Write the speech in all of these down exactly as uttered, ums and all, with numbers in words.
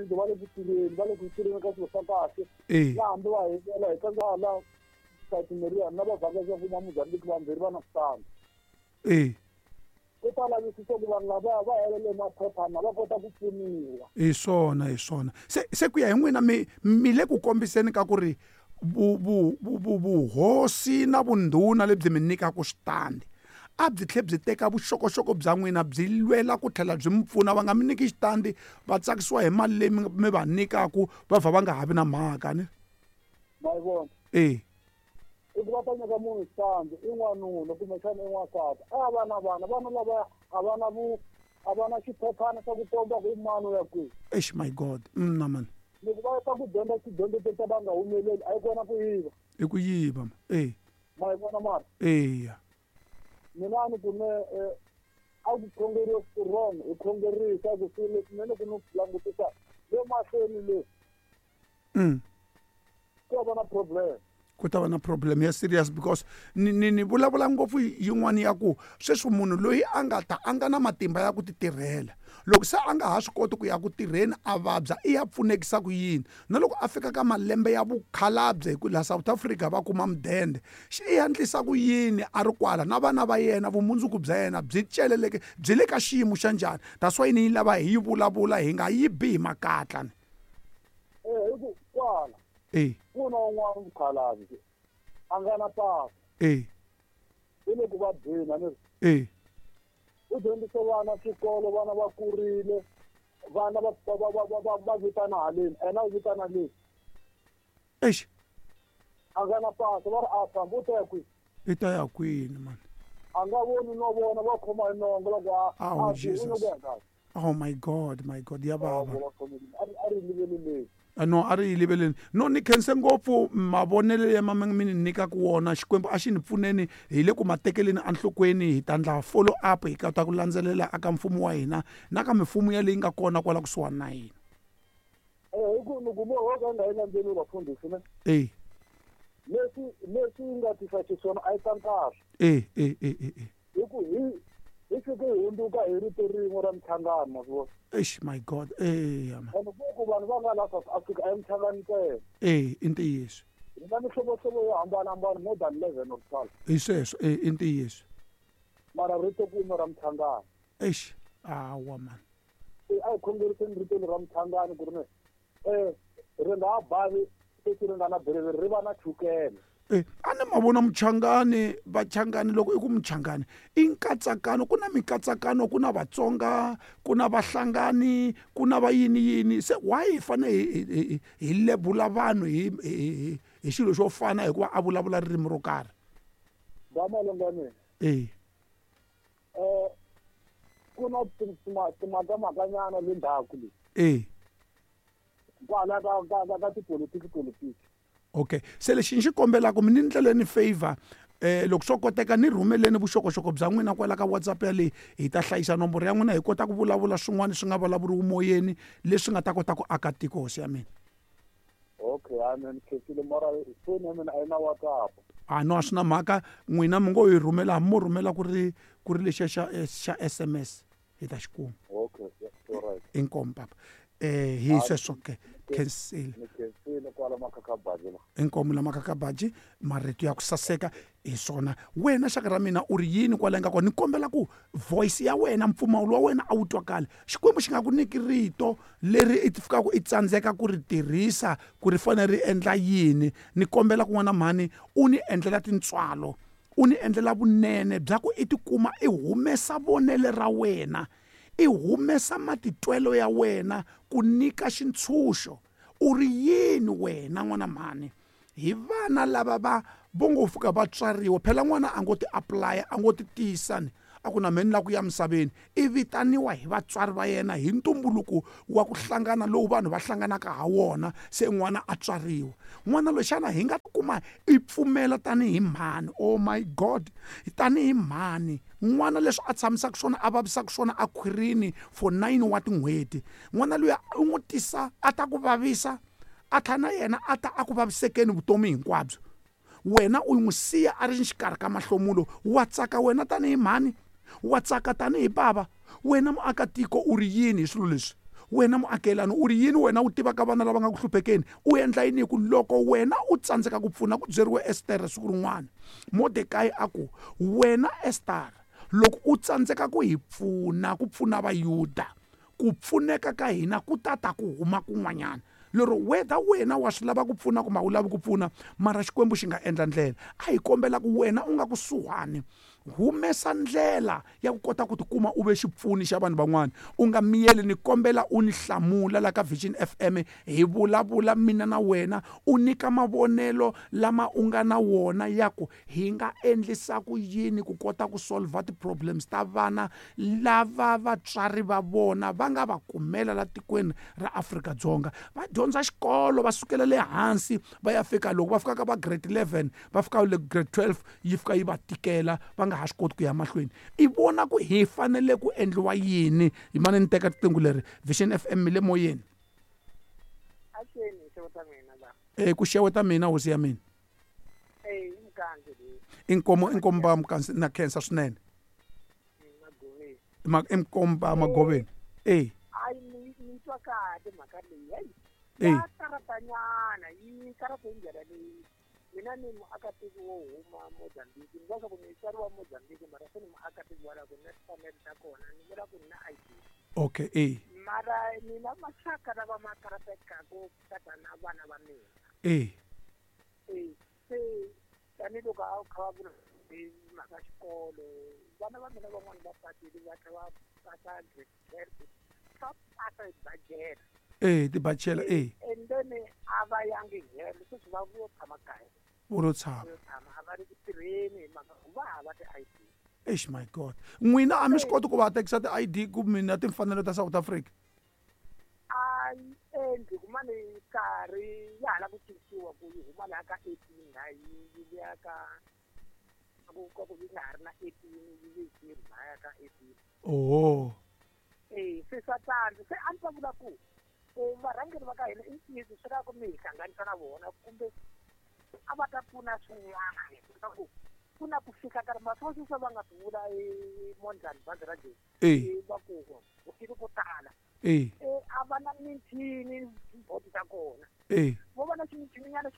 xintu va le ku tirheni va le ku tirheni ka swilo swa kahle na hambi va hivela hi tsandzaka la satimeriya na va vhakacha kuma Mozambique vambirhi va na switandi e ku ta lavisisa ku vanhu lavaya va helele maphephana va kota ku pfuniwa hi swona hi swona se se ku ya hi n'wina mi mi le ku kombiseni ka ku ri vuhosi na vundhuna lebyi mi nyikaka xitandi a byi tlhe byi teka vuxokoxoko bya n'wina byi lwela ku tlhela byi mi pfuna va nga mi nyiki xitandi va tsakisiwa hi mali leyi mi va nyikaku va vha va nga ha vi na mhaka ni ma yi vona e i ku va ta nyika munhu xitandi i n'wanuna kumbexana i n'wansati a va na vana vana lavaya a va na vu a va na xiphephana xa ku komba ku i mani u ya kwihi eish my god mna mani loko va ta ku dyondza tidyondzo to ta va nga humeleli a yi kona ku yiva i ku yiva e ma yi vona mara eya mina a ni ku ne a ku khongeriwe wrong hi khongerisa ku swilo leswi mina ku ni langutisa le mahlweni le mm ku va na problem ku ta va na problem ya serious because ni ni ni vulavula ngopfu yin'wani ya ku sweswi munhu loyi a nga ta a nga na matimba ya ku ti tirhela loko se a nga ha swi koti ku ya ku tirheni a vabya i ya pfunekisa ku yini na loko a fika ka malembe ya vukhalabye hi ku laha South Africa va kuma mudende xi i endlisa ku yini a ri kwala na vana va yena vumundzuku bya yena byi celeleke byi le ka xiyimo xa njhani that's why ni yi lava hi yi vulavula hi nga yi bi hi makatla ni eh hi ku kwala e ku na un'wana mukhalabye a nga na papa e i le ku vabyeni a ni e u dyondzise vana xikolo vana va kurile vana va va va va va va vitana haleni ena u vitana le eish a nga na pasa va ri a famba u ta ya kwihi i ta ya kwini mani a nga voni no vona va khoma hi nongo loko a Oh, a Jesus. Oh my god my god ya vava a ri liveleleni no a ri yi liveleni no ni khense ngopfu mavonelo ya ma mi ni nyikaka wona xikwembu a xi ni pfuneni hi le ku ma tekeleni enhlokweni hi ta ndla follow up hi kota ku landzelela aka mfumo wa hina na ka mimfumo ya leyi nga kona kwala kusuhani na hina eh hi ku ni kume ho ka nga yi landzeli vafundhisi ne e leswi leswi yi nga tisa xiswona a yi ta kahle e e e e e hi ku hi hi fike hi hundzuka hi rito rin'we ra mchangano ma swi vona eish my god eya ma ende ku vanhu va nga la South Africa a yi mchangano ntsena e i ntiyiso hi na mihlovohlovo yo hambanahambana more than eleven or twelve hi sweswo e i ntiyiso mara rito kun'we ra mchangano eish awa mani se a hi khongeriseni rito leri ra mchangano ku ri ne um ri nga ha bavi sweswi ri nga na berevere ri va na chukele e a ni ma vona muchangani vachangani loko i ku muchangani i nkatsakano ku na mikatsakano ku na vatsonga ku na vahlangani ku na va yini yini se why hi fane hi hi hi lebula vanhu hi hi hi xilo xo fana hikuva a vulavula ririmi ro karhi ba malengo ya mina e um ku na timhakamakanyana le ndzhaku le e kwala ka ka ka ka tipolitiki politiki okay se lexi ni xi kombelaka mi ni ndleleni favor eh loko swo koteka ni rhumeleni vuxokoxoko bya n'wina kwala ka WhatsApp yaleyi hi ta hlayisa nomboro ya n'wina hi kota ku vulavula swin'wana swi nga vulavuriwi moyeni leswi nga ta kota ku aka tiko hosi ya mina okay amen khensile mara foni ya mina a yi na WhatsApp a no a swi na mhaka n'wina mi ngo yi rhumela hambi mo rhumela ku ri ku ri lexiya xa xa S M S hi ta xi kuma okay alright inkomu papa eh hi sweswo ke khensile ni khensile kwala makhakhabaji la inkomu la makhakhabaji marito ya ku saseka hi swona wena xaka ra mina u ri yini kwala nga kona ni kombela ku voice ya wena mpfumawulo wa wena a wu twakali xikwembu xi nga ku nyiki rito leri i fikaka i tsandzeka ku ri tirhisa ku ri fanele ri endla yini ni kombela ku n'wana mhani u ni endlela tintswalo u ni endlela vunene bya ku i tikuma i humesa vonele ra wena i humesa matitwelo ya wena ku nyika xintshunxo u ri yini wena n'wana mhani hi vana lava va vo ngo fika va tswariwa phela n'wana a ngo ti apply a ngo ti tiyisani a ku na mheni la ku ya misaveni i vitaniwa hi vatswari va yena hi ntumbuluko wa ku hlangana lowu vanhu va hlanganaka ha wona se n'wana a tswariwa n'wana loyi xana hi nga kuma i pfumela tanihi mhani oh my god tanihi mhani n'wana leswi a tshamisaka swona a vavisaka swona a khwirini for nine wa tin'hweti n'wana loyi u n'wi tisa a ta ku vavisa a tlhela na yena a ta a ku vavisekeni vutomi hinkwabyo wena u n'wi siya a ri xikarhi ka mahlomulo wa tsaka wena tanihi mhani wa tsaka tanihi bava wena muakatiko u ri yini hi swilo leswi Wena muakelani u ri yini wena u tivaka vana lava nga ku hluphekeni u endla yini hi ku loko wena u tsandzeka ku pfuna ku byeriwe Ester siku rin'wana Mordecai a ku wena Ester loko u tsandzeka ku hi pfuna ku pfuna vayuda ku pfuneka ka hina ku tata ku huma kun'wanyana lero whether wena wa swi lava ku pfuna kumbe a wu lavi ku pfuna mara Xikwembu xi nga endla ndlela a hi kombela ku wena u nga kusuhani humesa ndlela ya ku kota ku tikuma u ve xipfuni xa vanhu van'wana u nga miyeli ni kombela u ni hlamula la ka Vision F M hi vulavula mina na wena u nyika mavonelo lama u nga na wona ya ku hi nga endlisa ku yini ku kota ku solve ti-problems ta vana lava vatswari va vona va nga va kumela la tikweni ra Afrika-Dzonga va dyondza xikolo va sukela le hansi va ya fika loko va fika ka va grade eleven va fika le grade twelve yi fika yi va tikela va nga ha swi koti ku ya mahlweni i vona ku hi fanele ku endliwa yini hi mane ni teka riqingho leri Vision F M le moyeni e ku xeweta mina hosi ya mina inkomo inkomba mkansi na khensa swinene inkomba magoveni e ai ni ni twa kahle mhaka leyi ya karatanyana yi karata hi ndlela leyi mina ni muakatiko wo huma Mozambique ni vula ku ni tswariwa Mozambique mara se ni muakatiko wa la ku na timfanelo ta kona ni vula ku ni na I D okay e mara ni na maxaka lava ma karatekaka tata na vana va mina e e se tanihiloko a kha va vula hi mhaka xikolo vana va mina van'wana va pasile va tlhela va pasa grade twelve va pasa hi bajela e tibachela e and then a va yangi helo sweswi va vo tshama kaya vo tshama a va ri ku tirheni hi mhaka ku va hava ti-I D eish my god n'wina a mi swi koti ku va tekisa ti-I D ku mina timfanelo ta South Africa a yi endli kumane nkarhi ya ha la ku cinciwa ku yi huma laha ka eighteen la yi yi vuya ka ku ka ku yi nga ha ri na eighteen yi ve zero lahaya ka eighteen oho e se swa tsandza se a ni ta vula ku varhangeri va ka hina i ntiyiso swi lava ku mi hi hlanganisa na vona kumbe a va ta pfuna swin'wana ku ku na ku fika karhi maswo sweswi va nga swi vula eMondlani bazi ra Joni va ku vutile ko tala a va na michini vhoti ta kona vo va na ximichininyana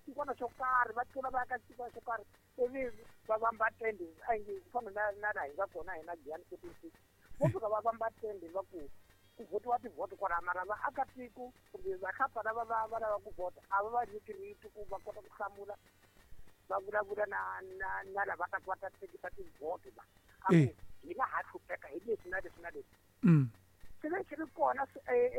xikwana xo karhi va tlula va ya ka xikwana xo karhi ivi va vamba tende a nge ku fana na na laha hi nga kona hina Giyani fourteen six vo fika va vamba tende va ku ku votiwa tivhoti kwala mara vaakatiko kumbe vahlapfa lava va va lava ku vhota a va va nyiki rito ku va kota ku hlamula va vulavula na na na lava ta va ta tekisa tivhoti va a ku hina ha hlupheka hi leswi na leswi na leswi swi ve swi ri kona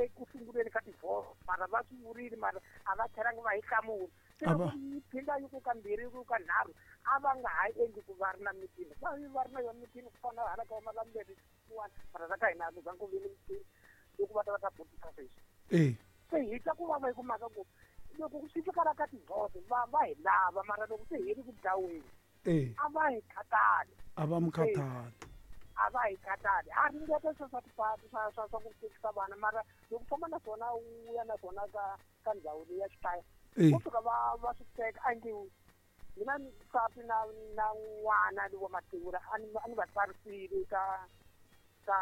eku sunguleni ka tivhoti mara va swi vurile mara a va tlhelangi va hi hlamula se loko yi phinda yi ku ka mbirhi yi ku ka nharhu a va nga ha endli ku va ri na mitini va va ri na yona mitini ku fana hala ka Malamulele kun'wana mara la ka hina a ku zangi ku vi ni mitini loko va ta va ta vhotisa sweswi se hi twa ku vava hi ku mhaka ku loko swi fika la ka tivhoti va va hi lava mara loko se hi ri ku dlaweni a va hi khathali a va mi khathali a va hi khathali a ringeta swa swa tipatu swa swa swa ku tekisa vana mara loko famba na swona u ya na swona ka ka ndhawu leyi ya xikaya vo fika va va swi teka a nge mina nsati na na n'wana lowa mativula a ni a ni va tsarisile ka ka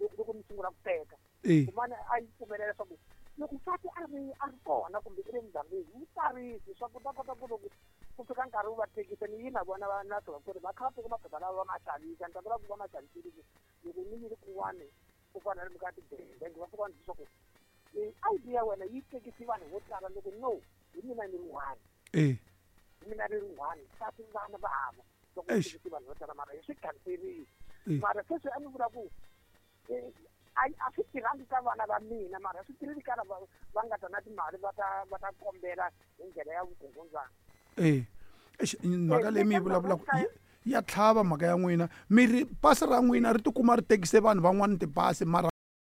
loko ni sungula ku teka kumane a yi pfumelela leswaku loko nsati a ri a ri kona kumbe i le Mozambique yi tsarisi leswaku ta kota ku loko ku fika nkarhi wu va tekisa ni yi na vona va na swona ku ri va kha va teka maphepha lawa va ma xavisa ni ta vula ku va ma xavisile ku loko ni yile kun'wana ku fana na ka tibangi va fika va ni leswaku I D ya wena yi tekisi vanhu vo tala loko no hi mina ni ri one hi mina ni ri one nsati vana va hava loko tekisi vanhu vo tala mara hi swi khanserile mara sweswi a ni vula ku a swi tirhangi ka vana va mina mara swi tirhile ka lava va nga ta na timali va ta va ta kombela hi ndlela ya vukungundzwana e mhaka leyi mi yi vulavulaka ya tlhava mhaka ya n'wina mi ri pasi ra n'wina ri tikuma ri tekise vanhu van'wana tipasi mara